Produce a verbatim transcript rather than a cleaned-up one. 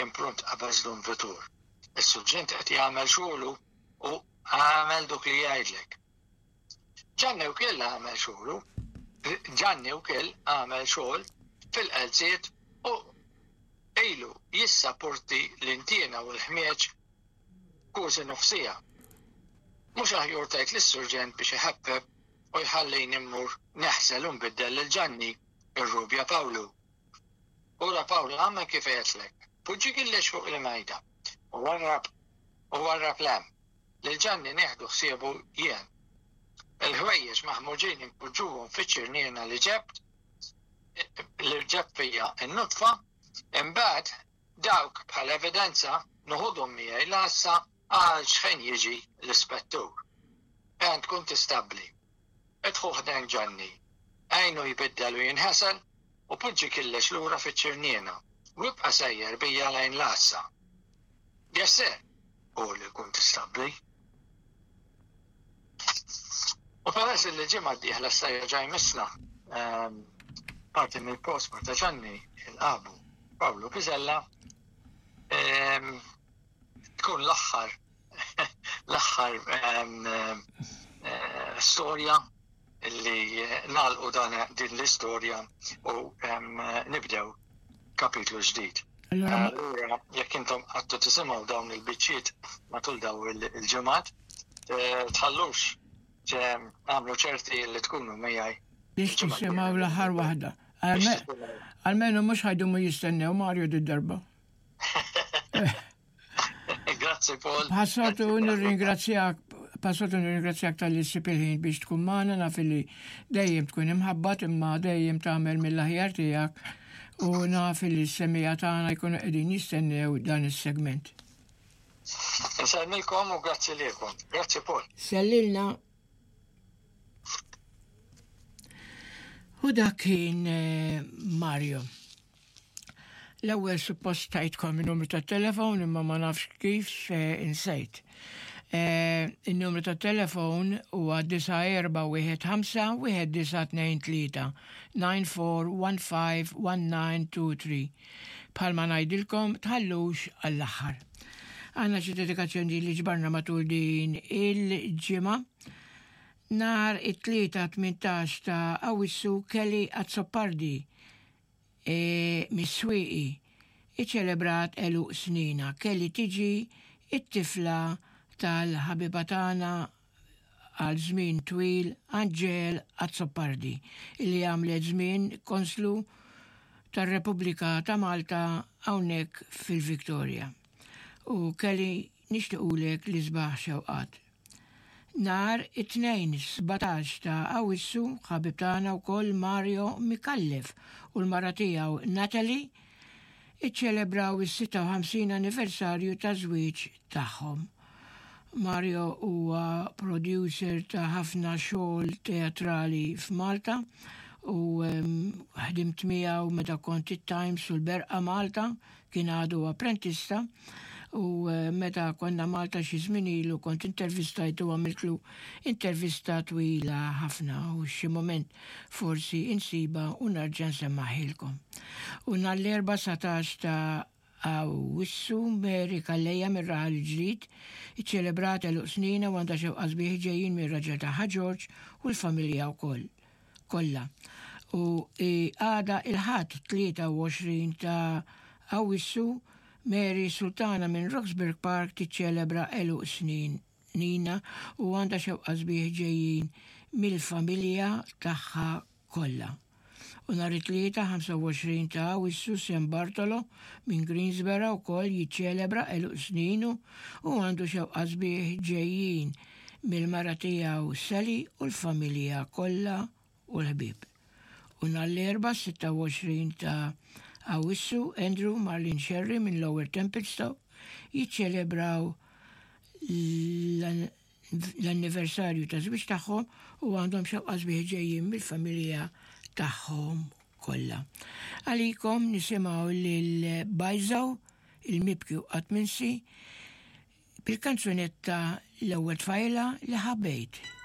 Kien pront qabeż Dun Vitur. Is-surġent qed jagħmel xogħlu u għamel dak li jgħidlek. Ġanni wkoll għamel xogħlu. Ġanni wkoll għamel xogħol fil-qalziet u ilu jissaporti l-intiena u l-ħmieġ kważi nofs siegħa. Mhux aħjar tgħid lis-surġent biex iħaffef u jħallini mmur neħsel u nbiddel lil Ġanni, irrubja Pawlu. Ura Pawlu, għamel kif għedtlek. Poġġi kollox fuq il-mejda. U warrab, u warrab 'l hemm. Lil Ġanni nieħdu ħsiebu jien. Il-ħwejjeġ maħmuġin inpoġġuhom fiċ-ċirniena li ġebt li ġebt fija n-nutfa, imbagħad dawk bħal evidenza noħodhom miegħi l-għassa għal xħin jiġi l-ispettur. Għand kuntistabbli. Idħol ħdejn Ġanni. Għinu jbiddel u jinħasel u poġġi kollox lura fiċ-ċirniena. U ibqa' sejjer bija lejn l-għassa. Yes, sir, qal il-kuntistabbli. U peress li ġimgħa d-dieħla s-sejja ġaj misna, ehm, parti mill-prosper ta' Ġanni il-qabu Pawlu Piżella, ehm, tkun l-aħħar l-aħħar ehm, eh, storja li nagħlqu dan din l-istorja u ehm, nibdew kapitlu ġdid. Allura, Allura, jekk intom għadtu tisimgħu dawn il-biċċiet matul daw il-ġimgħat, eh, tħallux għamlu ċerti li tkunu miegħi. Biex tisimgħu l-aħħar waħda. Almenu mhux ħa jdumu jistennew Mario d-darba. Grazzi, Paul. Bħas-soltu nirringrazzjak, bħas-soltu nirringrazzjak talli ssib il-ħin biex tkun magħna. Naf li dejjem tkun imħabbat, imma dejjem tagħmel mill-aħjar tiegħek u naf li s-semmiegħa tagħna jkunu qegħdin jistennew dan is-segment. Insellmilkom u grazzi lilkom. Grazzi, Paul. Sellilna. U dak kien eh, Mario. L-ewwel suppost tajtkom il-numru tat-telefon, imma ma nafx kif eh, insejt. Eh, il-numru tat-telefon huwa disgħa erba' wieħed ħamsa wieħed disgħa tnejn tlieta, nine four one five one nine two three. Bħalma ngħidilkom, tħallux għall-aħħar. Għandna xi dedikazzjoni li ġbarna matul din il-ġimgħa. Nhar it-Tlieta tmintax ta' Awissu, Kelly Azzopardi e, mis-Swieqi iċelebrat għeluq sninha. Kelly tiġi it-tifla tal-ħabiba tagħna għal żmien twil Angel Azzopardi, illi għamlet żmien konslu tar-Repubblika ta' Malta hawnhekk fil-Victoria. U Kelly, nixtiequlek l-isbaħ xewqat. Nhar it-Tnejn sbatax ta' Awissu, ħabib tagħna wkoll Mario Mikallef u l-mara tiegħu Natalie iċċelebraw is-sitta u ħamsin anniversarju ta' żwieġ tagħhom. Mario huwa producer ta' ħafna xogħol teatrali f'Malta u ħdimt miegħu meta kont it-Times u l-Berqa Malta, kien għadu apprentista, u eh, meta konna Malta xi żmien ilu kont intervistajtu, għamiltlu intervista twila ħafna u xi moment forsi insiba u nerġa' nsemmaħilkom. U nhar l-Erbgħa dsatax ta' Awissu, Mary Calleja mir-Raħal Ġdid iċċelebrat għeluq sninha u għandha xewqat sbieħ ġejjin mir-raġel tagħha George u l-familja wkoll kollha. U għada il-Ħadd tlieta u għoxrin ta' Awissu, Mary Sultana minn Roxburgh Park tiċċelebra għeluq snin Nina u għandha xewqat sbieħ ġejjin mill-familja tagħha kollha. U nhar it-Tlieta ħamsa u għoxrin ta' Awissu, Sam Bartolo minn Greensborough ukoll jiċċelebra għeluq sninu u għandu xewqat sbieħ ġejjin mill-mara tiegħu Sally u l-familja kollha u l-ħbieb. U nhar l-Erbgħa sitta u għoxrin ta' Awissu, Andrew Marlin Sherry minn Lower Templestowe jiċċelebraw l-anniversarju ta' żwieġ tagħhom u għandhom xewqat sbieħ ġejjin mill-familja tagħhom kollha. Għalikom nisimgħu lil Bajżaw, il-mibki u qatt minsi, bil-kanzunetta "L-ewwel tfajla li ħabbejt".